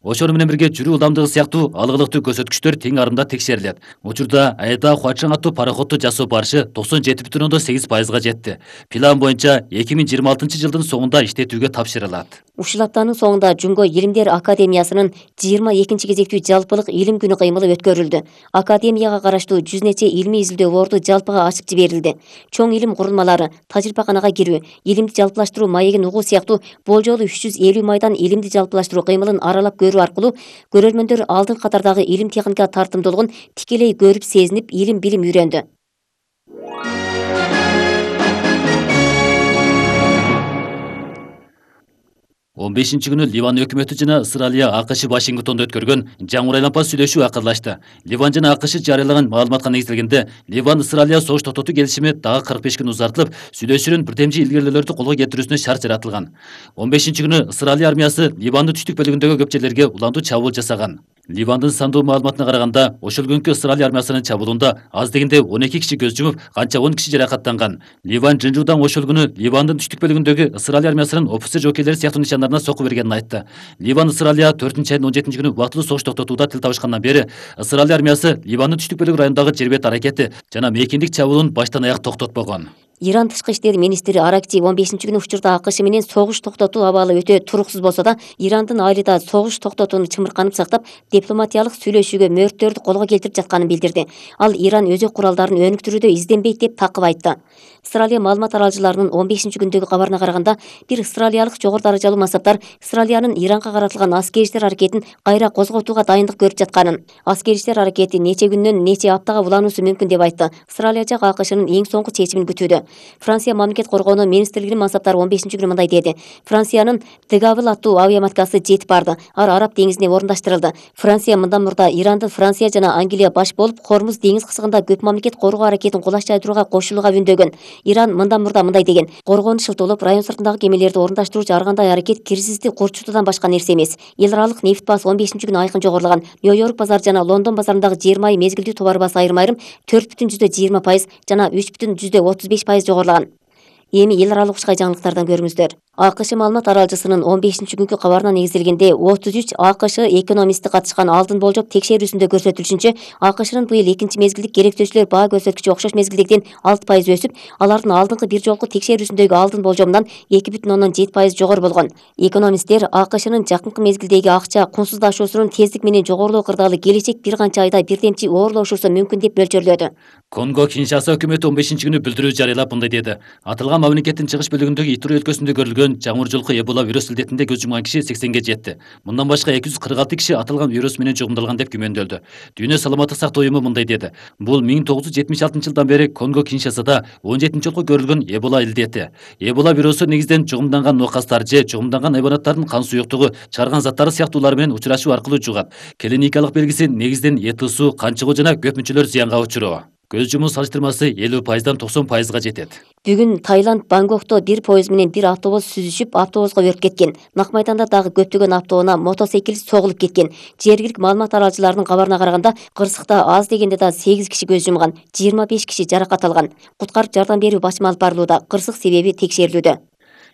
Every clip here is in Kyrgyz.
Ошону менен бирге жүрүү ылдамдыгы сыяктуу алгылыктуу көрсөткүчтөр тең арымда текшерилет. Учурда Айда Хуачаң аттуу пароходду жасоо барышы 97,8%га жетти. План боюнча 2026 жылдын соңунда иштетүүгө тапшырылат. Ушул аптанын соңунда Жумго Илимдер Академиясынын 22 кезектүү жалпылык илим күнү кыймылы өткөрүлдү. Академияга караштуу 100 нече илимий изилдөө жалпыга ачык жиберилди. Чоң илим курулмалары, тажрыйбаканага кирүү, илимди жалпылаштыруу маегин угуу сыяктуу болжолу 350 майдан илимди жалпылаштыруу кыймылын аралап көрүү аркылуу көрөрмөндөр алдын катардагы илим техника тартымдуулугун тикелей көрүп сезинип, илим билим үйрөндү. 15 күнү Ливан өкмөтү жана Ысыралия АКШ Вашингтондо өткөргөн жаңы айланпа сүйлөшүү акырлашты. Ливан жана АКШ жарыялаган маалыматка негизделгенде, Ливан Ысыралия согуш токтотуу келишими дагы 45 күн узартылып, сүйлөшүүнүн бирдемчи илгерилөөлөрдү колго кетирүүсүнө шарт жаратылган. 15 күнү Ысыралия армиясы Ливандын түштүк бөлүгүндөгү көп жерлерге уландуу чабуул жасаган. Ливандын сандуу маалыматына караганда, ошол күнкү Ысыралия армиясынын чабуулунда аз дегенде 12 киши көз жумуп, канча 10 киши жаракаттанган. Ливан Жынжуудан ошол күнү Ливандын түштүк бөлүгүндөгү Ысыралия армиясынын офицер жоокейлери сыяктуу нишандарына соку бергенин айтты. Ливан Ысыралия 4-айдын 17 күнү убактылуу согуш токтотууда тил табышкандан бери Ысыралия армиясы Ливандын түштүк бөлүгү районундагы жер бет аракети жана мейкиндик чабуулун баштан аяк токтотпогон. Иран тышкы иштер министри Аракчи 15 күнү учурда АКШ менен согуш токтотуу абалы өтө туруксуз болсо да, Ирандын айылда согуш токтотууну чымырканып сактап, дипломатиялык сүйлөшүүгө мөөрттөрдү колго келтирип жатканын билдирди. Ал Иран өзөк куралдарын өнүктүрүүдө изденбейт деп такып айтты. Ысыралия маалымат аралыжыларынын 15 күндөгү кабарына караганда, бир ысыралиялык жогору даражалуу мансаптар Ысыралиянын Иранга каратылган аскери иштер аракетин кайра козготууга дайындык көрүп жатканын, аскери иштер аракети нече күндөн нече аптага улануусу мүмкүн деп айтты. Ысыралия жак АКШнын эң соңку чечимин күтүүдө. Франция мамлекет коргоонуу министрлигинин мансаптары 15 күнү мындай деди. Франциянын Дегавыл аттуу авиаматкасы жетип барды. Араб деңизине орундаштырылды. Франция мындан мурда Ирандын Франция жана Англия баш болуп, Хормуз деңиз кысыгында көп мамлекет коргоо аракетин кулаш жайдырууга кошулууга үндөгөн. Иран мындан мурда мындай деген: коргоонун шылтоолоп, район сыртындагы кемелерди орундаштыруучу ар кандай аракет кирсизди курчутуудан башка нерсе эмес. Эл аралык нефть баасы 15 күнү айкын жогорулаган. Нью-Йорк базары жана Лондон базарындагы жер майы мезгилдүү товар баасы айрым-айрым 4,20% жана 3,35% жогорулаган. Эми эл аралык ушкай жаңылыктардан көрүңүздөр. АКШ маалымат аралжысынын 15 күнкү кабарына негизделгенде 33 АКШ экономисти катышкан алдын болжоп текшерүүсүндө көрсөтүлүшүнчө, АКШнын быйыл экинчи мезгилдик керектөөчүлөр баа көрсөткүчү окшош мезгилдегиден 6% өсүп, алардын алдыңкы бир жолку текшерүүсүндөгү алдын болжомунан 2,7% жогору болгон. Экономисттер АКШнын жакынкы мезгилдеги акча кунсуздашуусунун тездик менен жогорулоо кырдаалы келечек бир канча айда бирдемчи оорлошуусу мүмкүн деп болжолдоду. Конго Киншаса өкмөтү 15 күнү билдирүү жарыялап мындай деди. Аталган мамлекеттин чыгыш бөлүгүндөгү Итуре өлкөсүндө көрүлгөн жаңыр жолку Эбола вирус илдетинде көз жумган киши 80ге жетти. Мындан башка 246 киши аталган вирус менен жугумдалган деп күмөндөлдү. Дүйнө саламаттык сактоо уюму мындай деди. Бул 1976 жылдан бери Конго Киншасада 17 жолку көрүлгөн Эбола илдети. Эбола вирусу негизден жугумданган нокастар же жугумданган хайванаттардын кан суюктугу чыгарган заттары сыяктуулар менен учурашуу аркылуу жугат. Клиникалык белгиси негизден эт ысуу, кан чыгуу жана көп мүчөлөр зыянга учуруу. Көз жумуу салыштырмасы 50%дан 90%га жетет. Бүгүн Таиланд Бангкокто бир поезд менен бир автобус сүзүшүп, автобуска өрт кеткен. Нак майданда дагы көптөгөн автоунаа мотоциклист согулуп кеткен. Жергиликтик маалымат аралжыларынын кабарына караганда, кырсыкта аз дегенде да 8 киши көз жумган, 25 киши жаракат алган. Куткарып жардам берүү башым алып барылууда, кырсык себеби текшерилүүдө.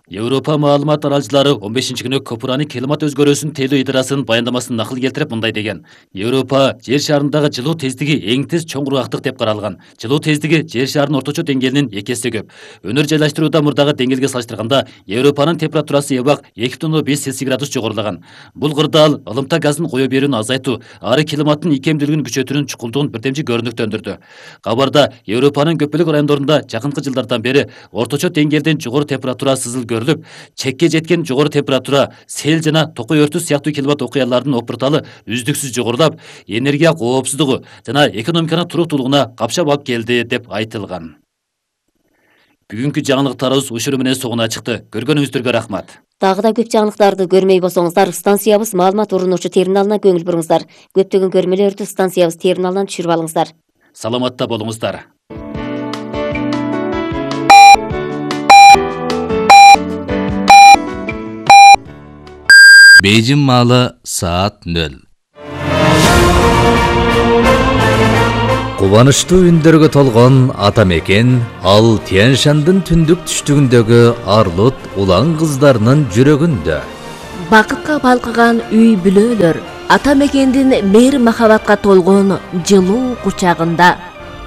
Европа маалымат аралжылары 15 күнү Копурани климат өзгөрүүсүнүн тейлөө идарасынын баяндамасын накыл келтирип мындай деген. Европа жер шарындагы жылуу тездиги эң тез чоң кургактык деп каралган. Жылуу тездиги жер шарынын орточо деңгээлинин 2 эсе көп. Өнөр жайлаштырууда мурдагы деңгээлге салыштырганда Европанын температурасы эбак 2,5 Цельсий градус жогорулаган. Бул кырдаал ылымта газдын кое берүүнү азайтуу, ары климаттын икемдүүлүгүн күчөтүүнүн чукулдугун бирдемчи көрүнүктөндүрдү. Кабарда Европанын көпчүлүк райондорунда жакынкы жылдардан бери орточо деңгээлден жогору температура сызыл көрүлүп, чекке жеткен жогору температура, сел жана токой өртү сыяктуу климат окуяларынын опурталы үздүксүз жогорулап, энергия коопсуздугу жана экономиканын туруктуулугуна капшап алып келди деп айтылган. Бүгүнкү жаңылыктарыбыз ушуну менен соңуна чыкты. Көргөнүңүздөргө рахмат. Дагы да көп жаңылыктарды көрмөй болсоңуздар, станциябыз маалымат урунуучу терминалына көңүл буруңуздар. Көптөгөн көрмөлөрдү станциябыз терминалынан түшүрүп алыңыздар. Саламатта болуңуздар. Бейжин маалы саат 0. Кубанычтуу үндөргө толгон ата мекен ал Тянь-Шандын түндүк түштүгүндөгү Арлут улан кыздарынын жүрөгүндө. бакытка балкыган үй бүлөлөр ата мекендин мээр махабатка толгон жылуу кучагында.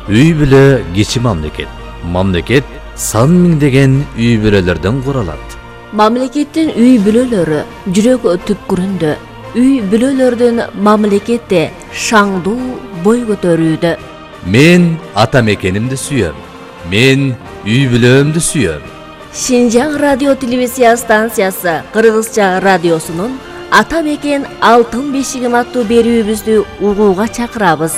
Үй бүлө кичи мамлекет. Мамлекет сан миңдеген үй бүлөлөрдөн куралат. Мамлекеттин үй бүлөлөрү жүрөк түпкүрүндө. Үй бүлөлөрдүн мамлекетте шаңдуу бой көтөрүүдө. Мен ата мекенимди сүйөм. Мен үй бүлөмдү сүйөм. Шинжаң радио телевизия станциясы Кыргызча радиосунун Ата мекен алтын бешигим аттуу берүүбүздү угууга чакырабыз.